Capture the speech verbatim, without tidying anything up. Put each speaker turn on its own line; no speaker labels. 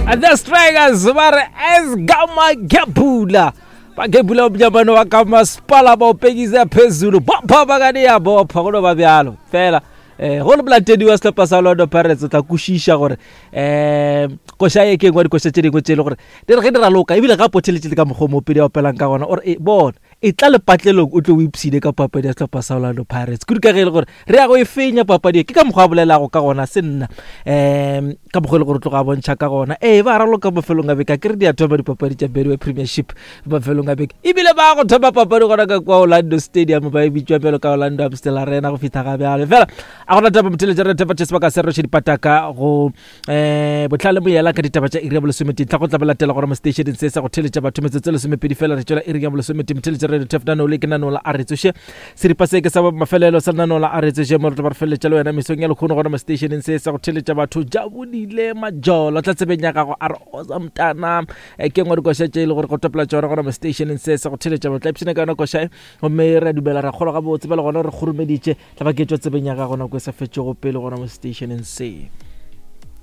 The Strikers ba re esgama gebula bagebula umnyamano wa ka masepala ba o pekisa phezulu bopha bakane ya bopha go no ba bjalo fela um go le molatedi wa sehlopha sa Orlando Pirates o tla kwešiša gore um koša e ke engwe dikoša tše dingwe tše e le gore di re ge di raloka ebile ga potheletše le ka mokgwa o mopedi a opelang ka gona ore e bona e tla lepatlelong o tlo o ipshine ka papadi ya sehlopha sa Orlando Pirates kudu ka ge e le gore re ya go e fenya papadi e ke ka mokgwa a bolelago ka gona se nna um ka mokgwa e le gore o tloga a bontšha ka gona ee ba raloka mafelong a beke a ke re di a thoma dipapadi tša Betway Premiership mafelong a beke ebile ba go thoma papadi gona ka kwa Orlando Stadium ba e bitšwa bjalo ka Orlando Amstel Arena go fihla ga bjale fela a gona taba motheletša re tepa sebaka se roše dipataka go um botlhale moyela ka ditaba tša iri ya bolesometee tla go tla ba latela gore mo stationeng se sa go theletša batho metsotso e lesomepedi fela re tšwela iri ya bolesometee motheletša radio tef nano le ke nano la a re tsoše seripa se ke sa mafelelo sa lenano la a re tsoše mo re tlo ba re feleletša le wena mesong ya lekgono gona mo stationeng se sa go theletša batho jabodile majolo tla tsebeng ya gago a re osa mtana Eh, ke ngwe dikoša tše e le gore go topela tšona gona mo stationeng se sa go theletša batho tla ipshina ka yona koša e gomme re a dumela ra kgolwa gabotse bjale gona re kgoromeditše tla ba ke tšwa tsebeng ya gago nako e sa fetšego pele gona mo stationeng se.